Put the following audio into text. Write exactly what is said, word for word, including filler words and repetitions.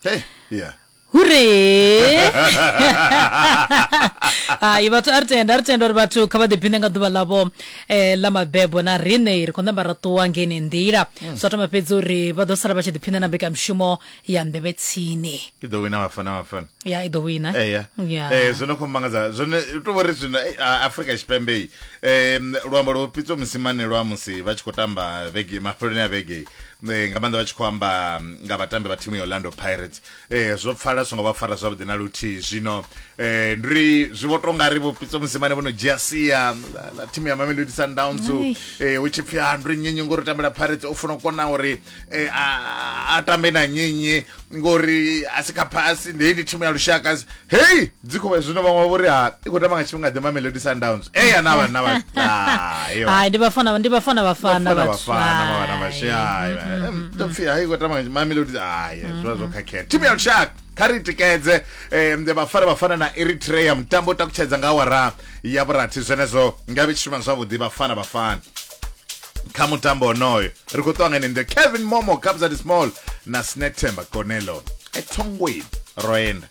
Hey, yeah. Hure hai vhathu, a ri tenda, a ri tenda uri vhathu kha vha ḓiphine nga ḓuvha ḽavho eh, ḽa mabebo. Na riṋe ri khou namba ra ṱuwa ngeni nḓila, zwa thoma fhedzi uri vha ḓo sala vha tshi ḓiphina na mbekanyamushumo ya Nḓevhe Tsini. I ḓo wina Vhafana Bafana. Ya, i ḓo wina. Eya. Ya. Eh, zwo no khou mangadza zwone u tou vhori zwino eh, a- Afrika Tshipembe i um luambo lwo Pitso Mosimane lwa musi vha tshi khou tamba vhege mafheloni a vhege eh, nga maanḓa vha tshi khou amba nga vhatambi vha thimu ya Orlando Pirates, eh, zwo pfala songo vha fara zwavhuḓi na luthihi. Zwino eh, ndi ri zwi vho tonga ri vho Pitso Mosimane vho no dzhia sia ḽa ḽa thimu ya Mamelodi Sundowns, Ai. eh, hu tshi pfhi ha ndi nnyi ngori u tambela Pirates, u funa u kona uri eh, a a tambe na nnyi ngori a si kha phasi, ndi ndi thimu ya lushaka. Hei, dzi khou zwino vhaṅwe vho ri ha i khou tamba nga tshifhinga ḓe Mamelodi Sundowns? Eya, na vha na vha ah, iyo. Hai, ndi Bafana, ndi Bafana Bafana. Bafana Vhathu. Bafana vha vha Hai. shaya to pfi hai khou tamba nga Mamelodi. Hai, zwi vha zwo khakhea. Thimu ya lushaka kha ri tikedze. eh, Vhafana Bafana na Eritrea, mutambo u takutshedza nga awara ya vhurathi. Zwenezwo nga vhe tshi shuma zwavhuḓi Vhafana Bafana kha mutambo onoyo. Ri khou ṱuwa ngene nḓe Kevin Momo, Kabza De Small na Snethemba Konelo, ethongweni roenda.